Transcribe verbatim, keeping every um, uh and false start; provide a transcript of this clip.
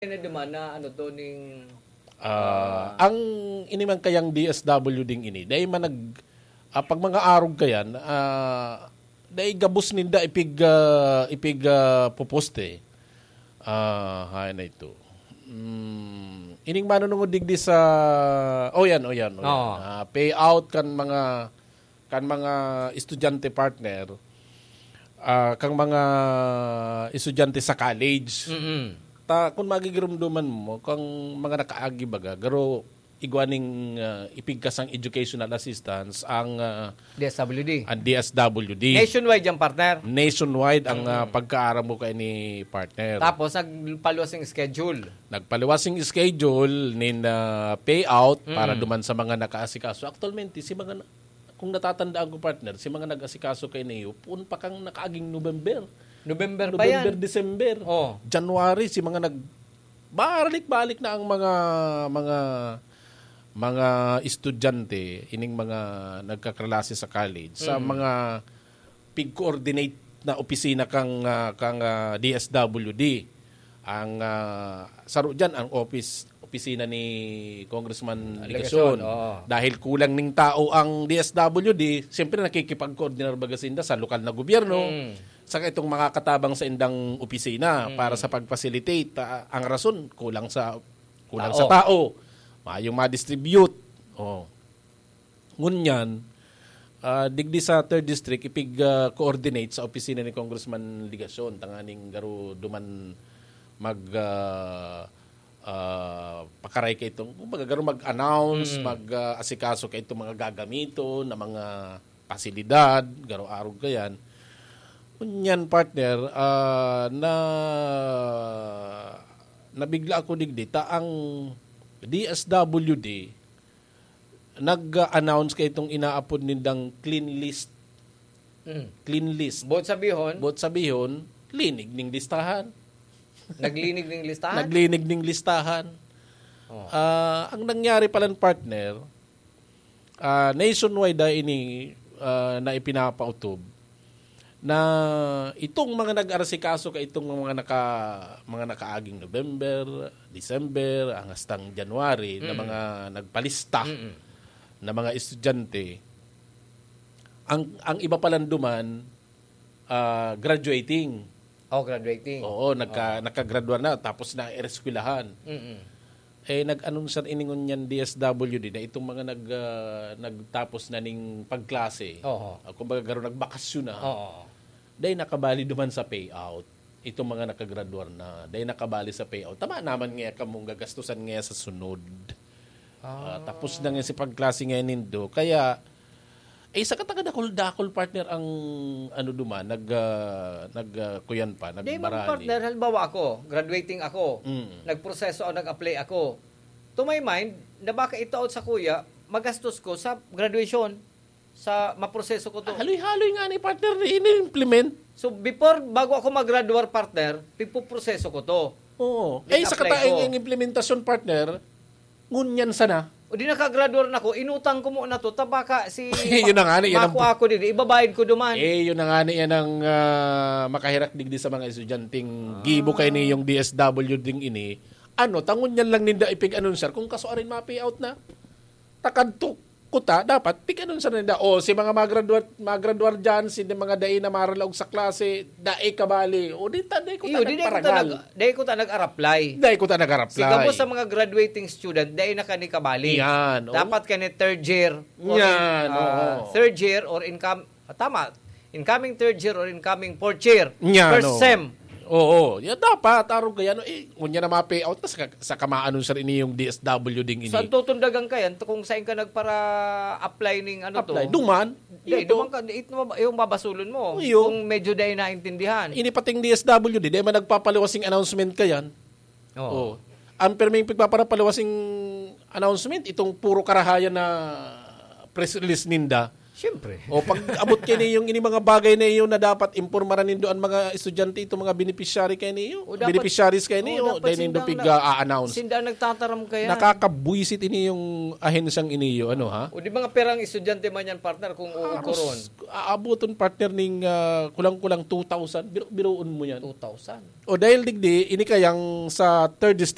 na duman na ano to ning Ah, ang inimang kayang D S W ding ini, dahil man nag, ah, pag mga arog kayan, ah, dahil gabos ninda ipig, ah, ipig ah, puposte. Ah, hayan na ito. Mm, ining manunungod digdi sa, oh yan, oh yan, oh yan. Oo. Ah, payout kan mga, kan mga estudyante partner, ah, kang mga estudyante sa college. Mm-mm. Ta, kung magigirumduman mo, kang mga nakaagi baga, garo igwa ning ah, ipigkasang educational assistance ang ah, D S W D. ang D S W D. Nationwide yan, partner. Nationwide ang ah, pagkaaram mo kay ni partner. Tapos, nagpaluwas yung schedule. Nagpaliwas yung schedule nin ah, payout para Mm. duman sa mga nakaasikaso. Actualmente, si mga na- kung natatandaan ko, partner, si mga nag-asikaso kay Neo, puon pa kang nakaaging November. November pa yan. November, December, Oh. January, si mga nag balik-balik na ang mga mga mga estudyante, ining mga nagkaklase sa college, sa Mm. mga pig-coordinate na opisina kang ah, kang ah, D S W D. Ang ah, saro diyan ang office opisina ni Congressman Legacion, Legacion. Oo. Dahil kulang ning tao ang D S W D, siyempre nakikipag-coordinar baga sinda sa lokal na gobyerno, Mm. saka itong mga katabang sa indang opisina Mm. para sa pag-facilitate. Ah, ang rason, kulang sa kulang Tao. sa tao. Mayong ma-distribute. Oh. Ngunyan, ah, digdi sa third district, ipig ah, coordinate sa opisina ni Congressman Legacion, tanganing garo duman mag ah, ah, pakaray ka itong, kumbaga, garo mag-announce, Mm. mag ah, asikaso ka itong mga gagamiton na mga pasilidad, garo arog ka yan. Ngunyan, partner, ah, na nabigla ako digdi ta ang D S W D nag-announce kay itong inaapod nindang clean list. Mm. Clean list. Buot sabihon, Buot sabihon, linig ning listahan. naglinig ning listahan. Naglinig ning listahan. Oh. Ah, ang nangyari palan, partner, ah, nationwide na ini ah, na ipinapautob na itong mga nag-arasikaso ka itong mga naka mga nakaaging November, December, ang hastang January na Mm. mga nagpalista Mm-mm. na mga estudyante, ang ang iba palan duman ah, graduating. Oh, graduating. Oo, nagka, nagkagradwa na tapos na eskwelahan. Mm-mm. Eh, nag-anunsar ini ngunyan D S W D na itong mga nag, ah, nagtapos na ning pagklase. Oo. Ah, kumbaga, garo nagbakasyon na. Oo. Dahil nakabali duman sa payout. Itong mga nakagraduar na, dahil nakabali sa payout. Tama naman nga kamong gagastusan nga sa sunod. Ah, tapos na nga si pagklase nga nindo. Kaya, eh, sa katanga dakol-dakol, partner, ang ano duman, nag, ah, nag, ah, kuyan pa, Di man, nagbarali. Partner, halimbawa ako, graduating ako, Mm. nagproseso ako, nag-apply ako. To my mind, na baka itaot sa kuya, magastos ko sa graduation, sa maproseso ko to. Haloy-haloy nga ni partner na ini-implement. So, before, bago ako mag-graduar, partner, pipuproseso ko to. Oo. Di Eh, sa apply kataing ko. Ang implementasyon, partner, ngunyan sana. O di nakagraduar na ko, inutang ko muna to, ta baka si Yun na nga, yan ang makuha ko din, ibabayad ko duman. Eh, yun na nga ni yan ang ah, makahirak digdi sa mga estudyanteng gibo kay ni yung D S W ding ini. Ano, tangon yan lang ninda ipig-anunsar kung kasuarin ma-payout na. Takadto kuta, dapat pig-anunsar ninda. O, si mga magraduar, magraduar dyan, si mga dai na maralaog sa klase, dai kabali. O, di ta, dai ko Iyo, di, di ko ta nag, di ko ta nag-apply. Dai ko ta nag-apply. Si gabos sa mga graduating student, dai na kani kabali. Yan, oo. Dapat kani third year. Or Yan, in, ah, oo. Third year or income, ah, tama, incoming third year or incoming fourth year. Yan, First oo. sem. Oo, yan dapat, arog kaya, no? Eh, kung yan na ma-payout, tas ka, sa kamaan nun, sir, ini yung D S W ding ini. Saan tutundagan ka yan? Kung saan ka nagpara-apply ning ano to? Apply, duman. Di, Ito. duman ka, di, ito, yung babasulon mo. Iyo. Kung medyo dai naintindihan. Ini pating D S W D, di man nagpapaliwasing announcement ka yan. Oo. Oh. Ang perming pagpaparapaliwasing announcement, itong puro karahayan na press release ninda. Siyempre. O pag abot kayo yung ini mga bagay na iyon na dapat impormaran nindo ang mga estudyante, itong mga beneficiary kayo niyo, O dapat- beneficiaries kayo niyo, o dapat dahil nindo sindang piga-announce. Sinda ang nagtataram kaya. Nakakabuisit ini yung ahensyang iniyo, ano ha? O di mga perang estudyante man yan, partner, kung uukoron. Aros, aaboton partner ning ah, kulang-kulang two thousand, biro-, biroon mo yan. Two thousand. O dahil digdi, ini kayang sa third